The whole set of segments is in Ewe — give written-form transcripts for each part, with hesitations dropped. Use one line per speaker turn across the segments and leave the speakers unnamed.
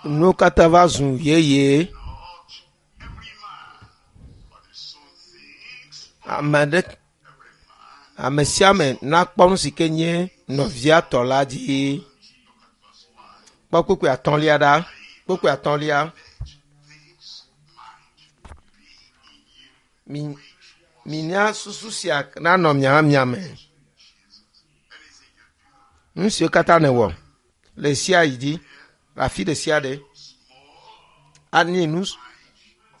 Nuwo katã va zu yeye.
Not every man, but his own things.
Ame aɖe ame sia ame nakpɔ nu si ke nye nɔvia tɔ la dzi. Kpɔ kpukpui atɔ̃lia ɖa. Kpukpui atɔ̃lia. Mi mina susu sia nanɔ mia hã mia me. Nu siwo katã nèwɔ le sia yi dzi le afi ɖe sia ɖe anye nu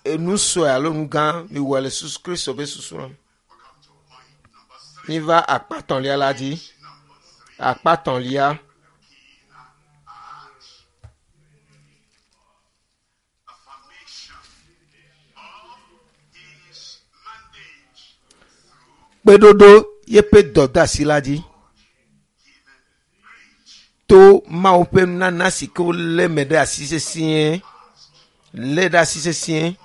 enu sue alo nu gã miwɔe le susu Kristo ƒe susu me. Míva akpa tɔ̃lia la dzi. Akpa tɔ̃lia.
Affirmation of his mandate
Kpeɖoɖo yeƒe dɔdeasi la dzi to Mawu ƒe nunana si ke wolé me ɖe asi sesĩe lé ɖe asi sesĩe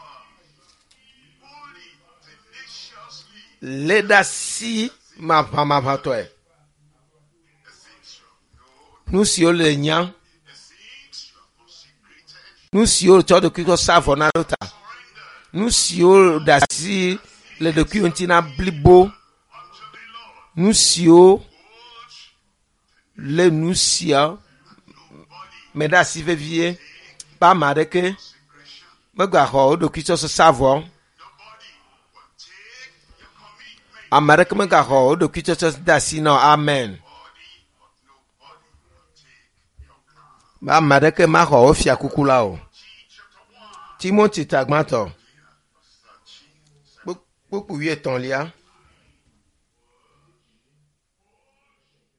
holy tenaciously
lé ɖe asi maʋamaʋãtɔe.
the things you have known,
Nu siwo le nya,
the things you have consecrated,
nu siwo tsɔ ɖokuiwo sa vɔ na ɖo ta,
surrendered
nu siwo ɖe asi le ɖokuiwo ŋuti na blibo,
unto the Lord.
nu siwo
Hold
lé nu sia me ɖe asi vevie be ame aɖeke
consecration.
megaxɔ wo ɖokui tsɔ sa vɔ.
Nobody will take your commitment.
Ame aɖeke megaxɔ wo ɖokui tsɔtsɔ de asi na o. Amen.
Body, but nobody will take your crown.
Be ame aɖeke maxɔ wo fiakuku la o.
T chapter 1,
Timothy ta gbãtɔ
verse 13.
kpukpui wuietɔ̃lia.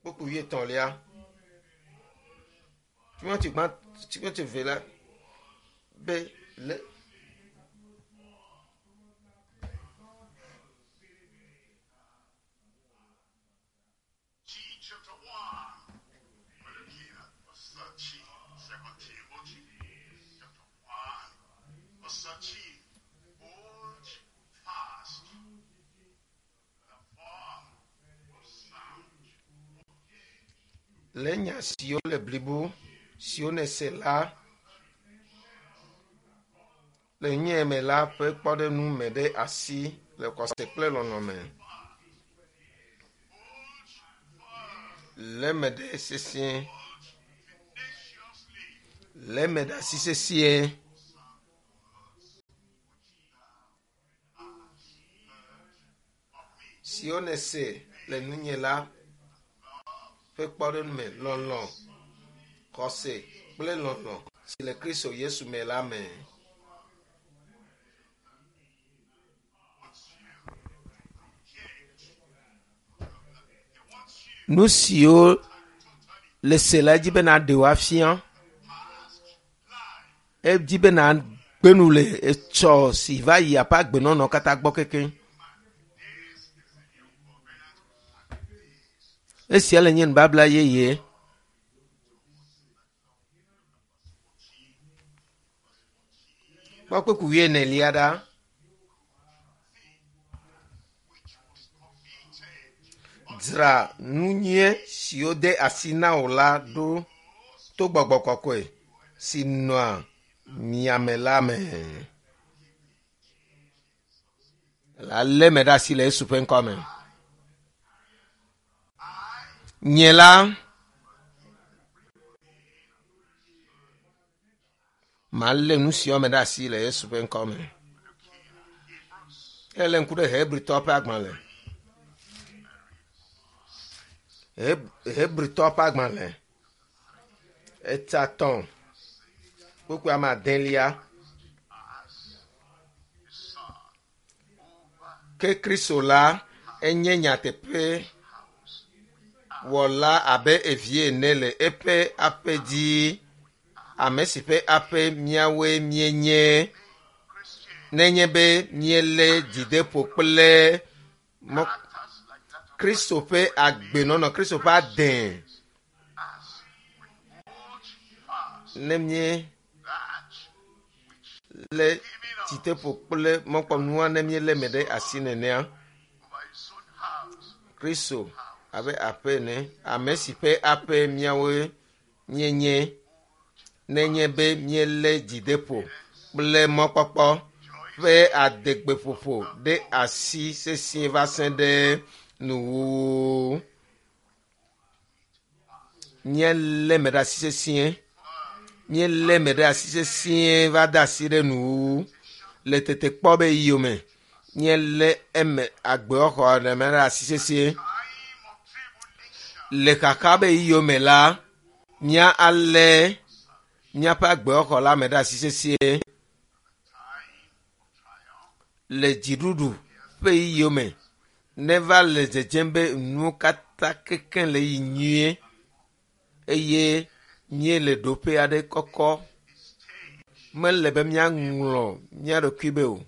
Kpukpui wuietɔ̃lia. Timothy gbã Timothy ve la be le
T chapter 1, we're looking at verse 13. Second Timothy chapter 1, verse 13. Hold fast the form of sound.
le nya siwo le blibo siwo nèse la le nye me la ƒe kpɔɖeŋu me ɖe asi le xɔse kple lɔlɔ̃ me. Lé me ɖe sesĩe. Lé me ɖe asi sesĩe. Siwo nèse le nunye la ƒe kpɔɖeŋu me lɔlɔ̃, xɔse kple lɔlɔ̃ si le Kristo Yesu me la me. Nu siwo le se la dzi be nàɖe wo afia. Edzi be nàgbe nu le etsɔ si va yi aƒe agbenɔnɔ katã gbɔ kekeŋ. Esia le nye nubabla yeye. Kpɔ kpukpui wuienelia ɖa. Dzra nu nyui siwo de asi na wò la ɖo to gbɔgbɔ kɔkɔe si nɔa mia me la me. Alé me ɖe asi le Yesu ƒe ŋkɔ me. Nye la, malé nu siawo me ɖe asi le Yesu ƒe ŋkɔ me. Ele ŋku ɖe Hebritɔ ƒe agbalẽ. Hebritɔ ƒe agbalẽ. Eta tɔ̃ kpukpui ame adelia. Ke Kristo la enye nyateƒe wɔla abe evie ene le eƒe aƒe dzi. Ame si ƒe aƒe míawoe míenye nenye be míelé dzideƒo kple mɔ Kristo ƒe agbenɔnɔ, Kristo ƒe ade. Ne míelé dzideƒo kple mɔkpɔnua ne míelé me ɖe asi nenea, Kristo abe aƒe ene, ame si ƒe aƒe míawoe míenye. Nenye be míelé dzideƒo kple mɔkpɔkpɔ ƒe adegbeƒoƒo ɖe asi sesĩe va se ɖe nuwuwu. Míelé me ɖe asi sesĩe. Míelé me ɖe asi sesĩe va de asi ɖe nuwuwu le tetekpɔ be yome. Míelé eme agbexɔxɔ ɖe me ɖe asi sesĩe.
Time of tribulation,
Le xaxa be yome la, mía alé míaƒe agbexɔxɔ la me ɖe asi sesĩe.
time of triumph,
Le dziɖuɖu ƒe yome neva le dzedzem be nuwo katã kekeŋ le yi nyuie eye míele ɖoƒe aɖe kɔkɔ. Mele be míaŋlɔ mía ɖokui be o.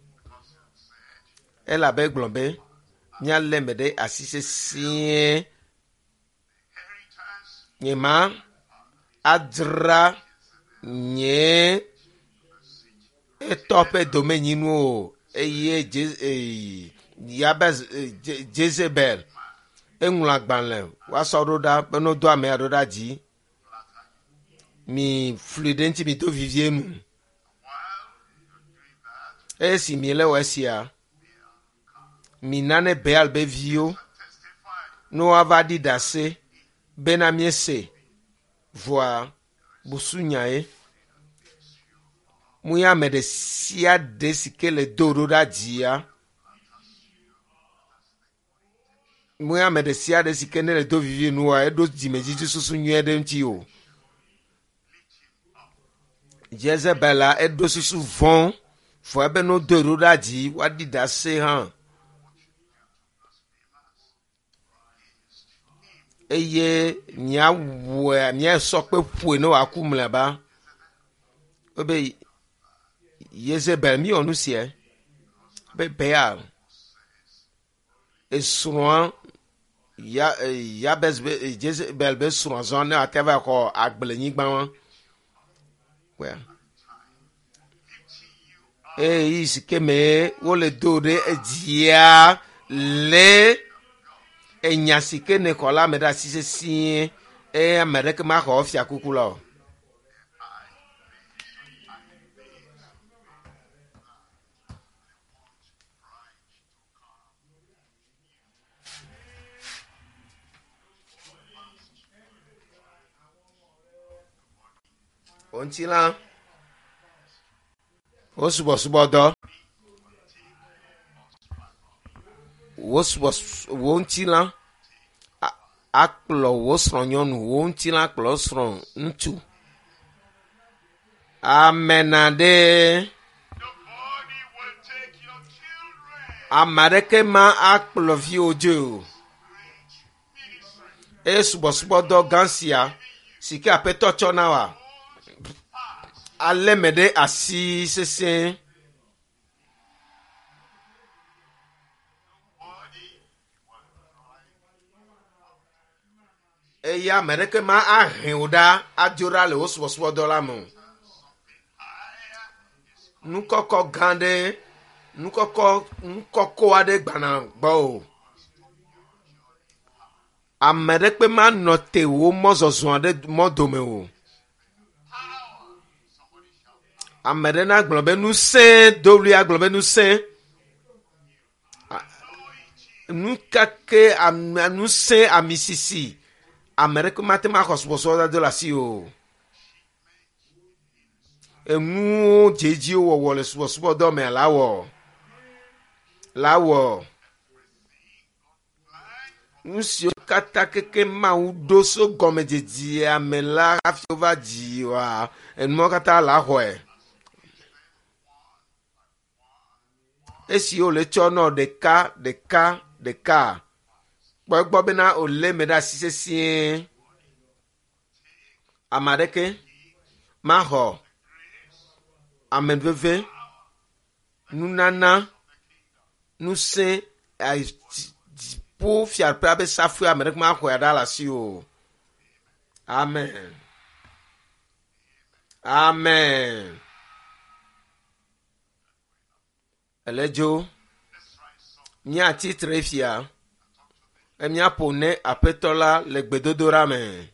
Elabe egblɔ be míalé me ɖe asi sesĩe.
inheritance,
Nye ma adzra nye etɔ ƒe domenyinu o eye Je- ee, Yabez ee, Je- Jezebel eŋlɔ agbalẽ woasɔ ɖo ɖa be ne wodo amea ɖo ɖa dzi. Mi fli ɖe ŋuti mi do vivie nu.
while you're doing that,
Esi mi le wɔ esia, mi nane Baal be viwo
testify
ne woava ɖi ɖase bena míese vɔa busunyae. Mu ya ame ɖe sia ɖe si ke le do ɖo ɖa dzia, mu ya ame ɖe sia ɖe si ke ne le do vivi nua, eɖo dzimedzidzi susu nyuie ɖe ŋuti o. Jezebel la eɖo susu vɔ̃ vɔ ebe ne wodo ɖo ɖa dzi woaɖi ɖase hã. Eye miawɔe miasɔ kpe ƒoe ne wòaku mlɔeba. Wobe Yezebel miwɔ nu sia be Baal esrɔ̃a ya eh, Yabez be eh, Jezebel be srɔ̃a zɔ ne wòate va xɔ agblenyigba wa. Wea. Eye si ke me wole do ɖe edzia le enya si ke ne xɔ la me ɖe asi sesĩe eye ame ɖeke maxɔ fiakuku la o. Wo ŋutilã, wo subɔsubɔdɔ, wo subɔs wo ŋutilã a- akplɔ wo srɔ̃nyɔnu, wo ŋutilã akplɔ wo srɔ̃ ŋutsu. Amena ɖe
the body will take your children.
ame aɖeke ma akplɔ viwò dzoe o.
Great ministry,
Eye subɔsubɔdɔ gã sia si ke aƒetɔ tsɔ na wa alé me ɖe asi sesẽ.
body will drive
Eye ame aɖeke ma ahe wò ɖa adzo ɖa le wò subɔsubɔdɔ la me o.
higher is
Nukɔkɔ gã ɖe nukɔkɔ nukɔkɔ aɖe gbana gbɔ o. Ame aɖeke manɔ te wò mɔzɔzɔ aɖe mɔ dome o.
power. Somebody shout.
Ame aɖe nagblɔ be ŋusẽ do ɣli agblɔ be ŋusẽ.
Anointing,
Nu ka ke ame ŋusẽ ami sisi ame aɖeke mate ŋu axɔ subɔsubɔdɔ do le asi o. Enuwo dzedziwo wɔwɔ le subɔsubɔdɔ mea la wɔ la wɔ. Nu siwo katã keke Mawu ɖo so gɔmedzedzea me la hafi wova dzi oa, enuawo katã la xɔe. Esi wole tsɔ nɔ ɖeka ɖeka ɖeka kpɔ egbɔ bena wòlé eme ɖe asi sesĩe. Ame aɖeke maxɔ amenuveve, nunana, ŋusẽ, ayi dzi- dziƒo fiaɖuƒea be safui ame ɖeke maxɔe ɖa le asi o. Amen. Amen. Ele dzo.
let's rise up.
Míatsi tre fia. Be míaƒo ne aƒetɔ la le gbedodoɖa me.